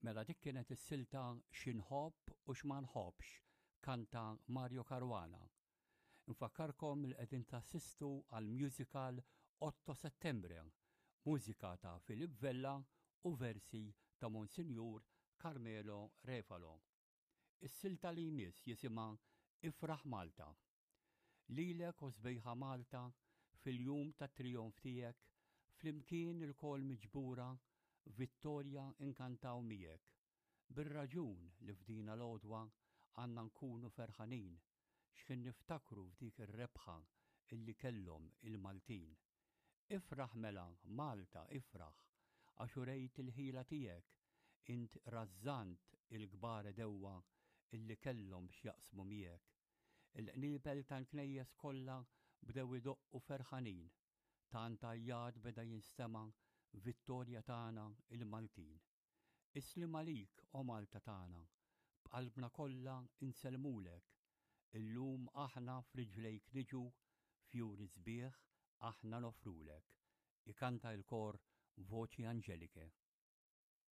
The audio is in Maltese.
Mela dik kienet is-silta X'inħobb u x'ma nħobbx, kanta Mario Caruana. Infakkarkom li qegħdin tassistu għal musical Otto Settembre, mużika ta' Philip Vella u versi ta' Monsinjur Carmelo Refalo. Is-silta li jmiss jisimha Ifraħ Malta. Lilek o sbejħa Malta fil-jum tat-trijonf tiegħek flimkien ilkoll miġbura vittorja nkantaw miegħek. Bir-raġun li f'dina l-għodwa għandna nkunu ferħanin x'ħin niftakru f'dik ir-rebħa illi kellhom il-Maltin. Ifraħ mela Malta ifraħ għax urejt il-ħila tiegħek int rażżant il-kbar għedewwa illi kellhom x'jaqsmu miegħek. Il-qniebel tal-knejjes kollha bdew idoqqu ferħanin. Tant għajjat beda jinstema' vittorja tagħna il-Maltin. Is-sliem għalik, o Malta tagħna, b'qalbna kollha insellmulek. Illum aħna f'riġlejk niġu, fjuri sbieħ aħna noffrulek. Ikanta il-kor Voci Angeliche.